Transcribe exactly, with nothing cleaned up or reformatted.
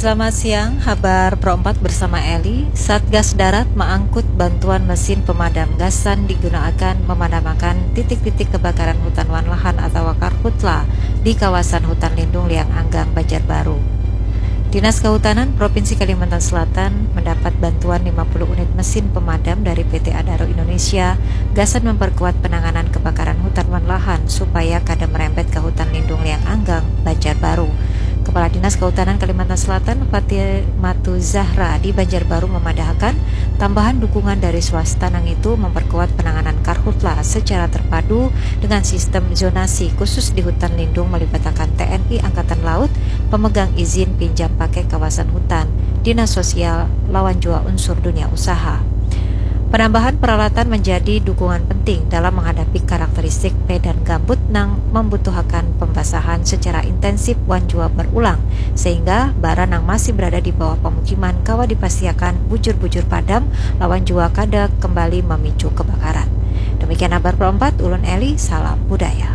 Selamat siang, habar Pro empat bersama Eli. Satgas Darat maangkut bantuan mesin pemadam gasan digunaakan memadamakan titik-titik kebakaran hutan wan lahan atawa karhutla di kawasan hutan lindung Liang Anggang, Banjarbaru. Dinas Kehutanan Provinsi Kalimantan Selatan mendapat bantuan lima puluh unit mesin pemadam dari P T Adaro Indonesia gasan memperkuat penanganan kebakaran hutan wan lahan supaya kada merembet ke hutan lindung Liang Anggang, Banjarbaru. Kepala Dinas Kehutanan Kalimantan Selatan, Fatimatu Zahra, di Banjarbaru memadahakan, tambahan dukungan dari swasta nangitu memperkuat penanganan karhutla secara terpadu dengan sistem zonasi khusus di hutan lindung melibatakan T N I Angkatan Laut, pemegang izin pinjam pakai kawasan hutan, dinas sosial, lawan jua unsur dunia usaha. Penambahan peralatan menjadi dukungan penting dalam menghadapi karakteristik medan gambut nang membutuhakan pembasahan secara intensif wan jua berulang, sehingga bara nang masih berada di bawah pemukiman kawa dipastiakan bujur-bujur padam lawan jua kada kembali memicu kebakaran. Demikian habar Pro empat, ulun Eli, salam budaya.